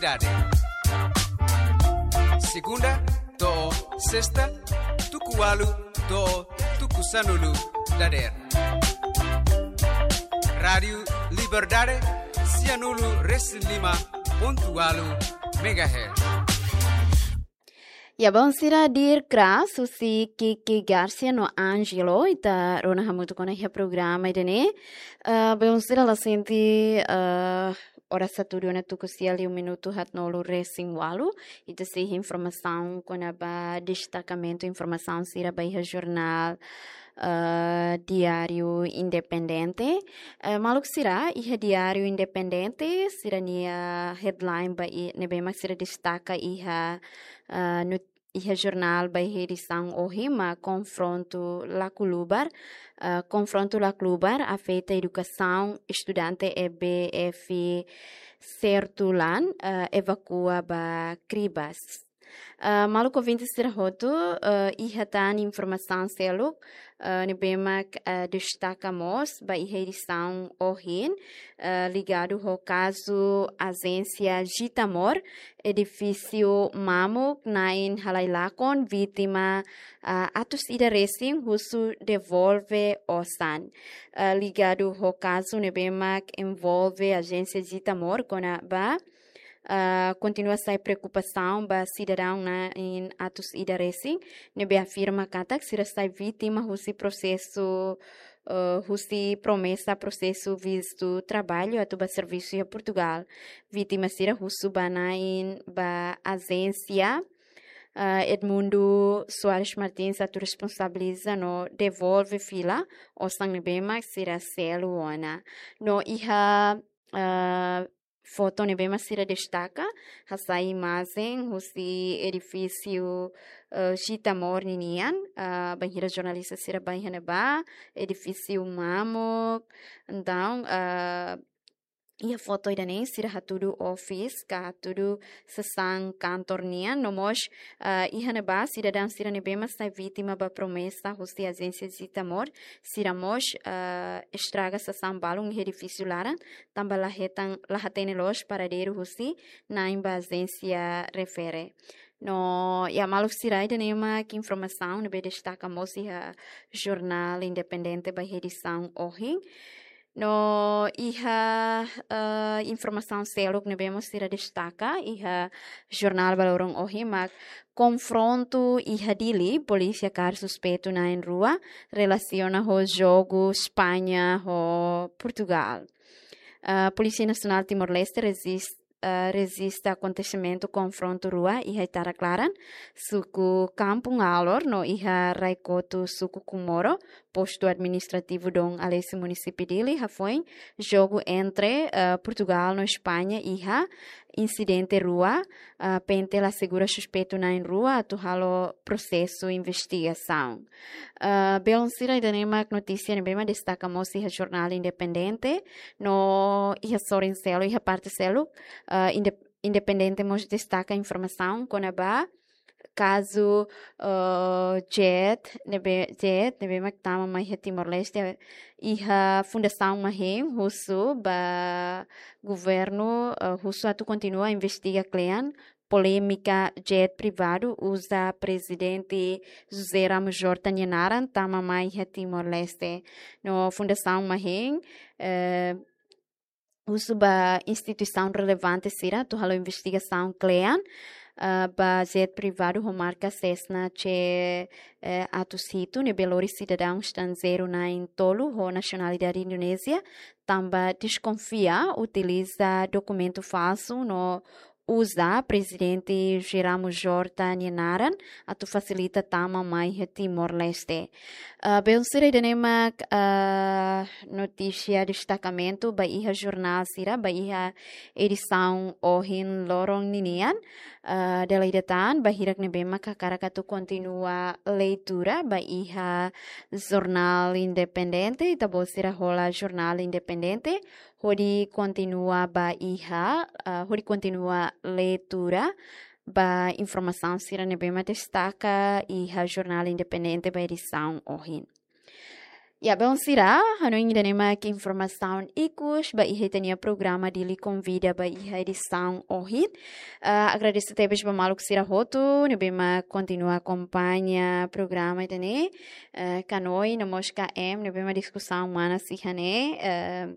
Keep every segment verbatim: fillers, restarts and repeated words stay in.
Dade. Segunda to'o sesta, tuku ualu to'o tuku sanulu dadeer. Rádiu Liberdade, sianulu resin lima pontu ualu megahertz. Ya, bainhira di'ak, husi Kiki Garcia no Angelo, ita rona hamutuk ona iha programa ida-ne'e. Ah, bainhira la sente, ah, oras hatudu ona tuku sia liu minutu haatnulu resin ualu, ita sei iha informasaun kona-ba destakamentu informasaun sira ba iha jornál, ah, Diário Independente. Ah, maluk sira, iha Diário Independente, sira-nia headline ba i-, ne'ebé mak sira destaka iha, ah, not-, iha jornál ba iha edisaun ohin mak konfrontu lakulubar, ah, konfrontu lakulubar afeta edukasaun, estudante E B F Sertulan, ah, evakua ba Cribas. Ah, maluk ouvinte sira hotu, ah, iha tan informasaun seluk, ah, ne'ebé mak, ah, destaka mós ba iha edisaun ohin, ah, ligadu ho kazu Ajénsia Jitamor, edifísiu mamuk na'in halai lakon, vítima, ah, atus ida resin husu devolve osan. Ah, ligadu ho kazu ne'ebé mak envolve Ajénsia Jitamor kona-ba, ah, kontinua sai preokupasaun ba sidadaun na'in atus ida resin, ne'ebé afirma katak sira sai vítima husi prosesu, eh, husi promesa prosesu vistu traballu atu ba servisu iha Portugal. Vítima sira husu ba na'in ba ajénsia, eh, Edmundo Soares Martins atu responsabiliza no devolve fila osan ne'ebé mak sira selu ona. No iha, eh, foto ne'ebé mak sira destaka, hasai imajen husi edifísiu, eh, Jitamor ninian, eh, bainhira jornalista sira bá iha ne'ebá, edifísiu mamuk, entaun, eh, iha foto ida-ne'e sira hatudu office, ka hatudu sasán kantor nian, no mós, eh, iha ne'ebá sidadaun sira ne'ebé mak sai vítima ba promesa husi ajénsia Jitamor, sira mós, eh, estraga sasán balun iha edifísiu laran, tanba la hetan, la hatene loos paradeiru husi na'in ba ajénsia refere. No, ya maluk sira, ida-ne'e mak informasaun ne'ebé destaka mós iha jornál Independente ba iha edisaun ohin. No iha, eh, informasaun seluk ne'ebé mós sira destaka iha jornál ba loron ohin mak konfrontu iha Dili, polísia kaer suspeitu na'in rua relasiona ho jogu España ho Portugal. Ah, Polísia Nasionál Timor-Leste rezis-, ah, rejista akontesimentu konfrontu rua iha rai-klaran, suku Kampung Alor, no iha rai-kotu, suku Comoro, postu administrativu Dom Aleixo, munisípiu Dili, hafoin jogu entre, ah, Portugal no España iha insidente rua, ah, PNTL asegura suspeitu na'in rua atu halo prosesu investigasaun. Ah, belun sira, ida-ne'e mak notísia ne'ebé mak destaka mós iha jornál Independente, no iha sorin seluk, iha parte seluk, ah, Inde-, Independente mós destaka informasaun kona-ba kazu, eh, jet, ne'ebé, jet, ne'ebé mak tama mai iha Timor-Leste, iha Fundasaun Mahen husu ba governu, eh, husu atu kontinua investiga kle'an polémika jet privadu uza Prezidente José Ramos Horta nia naran tama mai iha Timor-Leste. No Fundasaun Mahen, eh, husu ba instituisaun relevante sira atu halo investigasaun kle'an, ah, ba jet privadu ho marka Cessna C, eh, atus hitu, ne'ebé lori sidadaun estranjeiru na'in tolu ho nasionalidade Indonézia, tanba deskonfia utiliza dokumentu falsu no uza Prezidente José Ramos Horta nia naran atu fasilita tama mai iha Timor-Leste. Ah, belun sira, ida-ne'e mak, ah, notísia destakamentu ba iha jornál sira, ba iha edisaun ohin loron ninian. Ah, dala ida tan, ba hirak ne'ebé mak hakarak atu kontinua leitura ba iha jornál Independente, ita-boot sira hola jornál Independente, hodi kontinua ba iha, ah, hodi kontinua leitura ba informasaun sira ne'ebé mak destaka iha jornál Independente ba edisaun ohin. Ya, belun sira, hanoin ida-ne'e mak informasaun ikus ba iha ita-nia programa Dili Konvida ba iha edisaun ohin. Ah, agradese tebes ba maluk sira hotu ne'ebé mak kontinua akompaña programa ida-ne'e. Eh, Kanoi no mós K M ne'ebé mak diskusaun manas iha ne'e. Eh,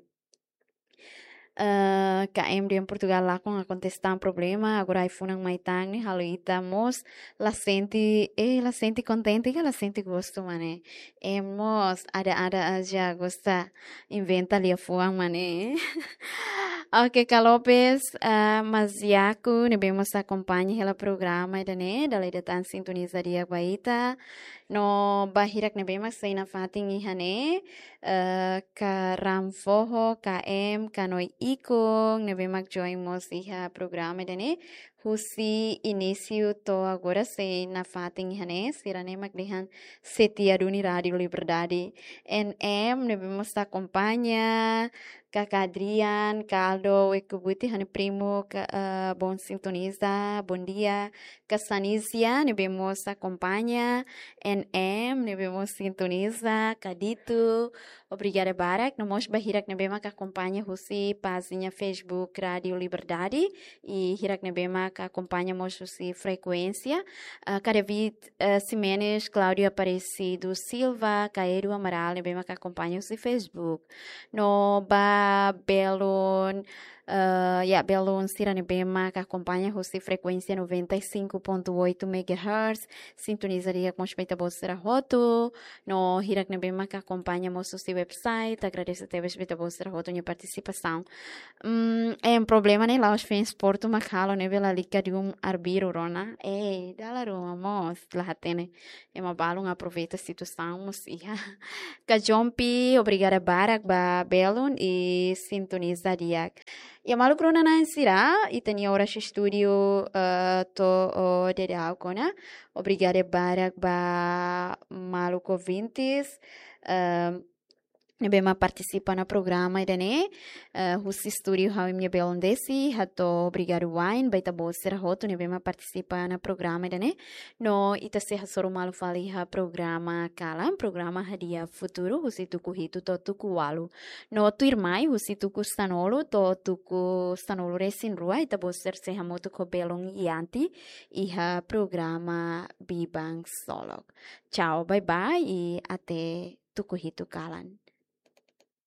eh, K M dehan Portugal lakon akontese tan problema, agora ai-funan mai tan ne'e halo ita mós la sente, eh, la sente kontente ka la sente gostu mak ne'e. Em mós ada-ada aja gosta inventa liafuan mak ne'e. Oke, Ka Lopes, eh, Maziaku ne'ebé mós akompaña hela programa ida-ne'e, dala ida tan sintoniza di'ak ba ita. No ba hirak ne'ebé mak sei nafatin iha ne'e, eh, Ka Ram Foho, K M, Kanoi Ikun ne'ebé mak join mós iha programa ida-ne'e husi inísiu to'o agora sei nafatin iha ne'e, sira-ne'e mak dehan setia duni Rádiu Liberdade. N M ne'ebé mós akompaña, Kaka Adrian, Caldo, Wekubuti, ha'u-nia primu, ka, eh, bom sintoniza, bom dia. Ka Sanisia ne'ebé mós akompaña, N M ne'ebé mós sintoniza, Kadito, obrigada barak, no mós ba hirak ne'ebé mak akompaña husi pájina Facebook Rádiu Liberdade, i hirak ne'ebé mak akompaña mós husi frekuénsia, ah, Ka David, eh, Ximenes, Cláudio Aparecido Silva, Ka Edu Amaral ne'ebé mak akompaña husi Facebook. No ba belun, eh, ya, belun sira ne'ebé mak akompaña husi frekuénsia noventa e cinco ponto oito megahertz, sintoniza di'ak mós ba ita-boot sira hotu, no hirak ne'ebé mak akompaña mós husi website, agradese tebes ba ita-boot sira hotu nia partisipasaun. Mm, em problema ne'e la'ós fans Portu mak halo ne'ebé lalika dun arbiru rona. Eh, dala ruma mós, la hatene. Ema balun aproveita situasaun mós iha. Ka Jompi, obrigada barak ba belun i sintoniza di'ak. Ya maluk rona-na'in sira, ita-nia oras estúdiu, eh, to'o daudaun ona. Obrigada barak ba maluk ouvintes, eh, ne'ebé mak partisipa ona programa ida-ne'e, eh, husi estúdiu ha'u imi-nia belun Desi, hato'o obrigadu wa'in ba ita-boot sira hotu ne'ebé mak partisipa ona programa ida-ne'e. No ita sei hasoru malu fali iha programa kalan, programa Hadi'a Futuru, husi tuku hitu to'o tuku ualu. No tuirmai husi tuku sanulu to'o tuku sanulu-resin-rua, ita-boot sira sei hamutuk ho belun Yanti iha programa Biban Ksolok. Tchau, bye bye i até tuku hitu kalan.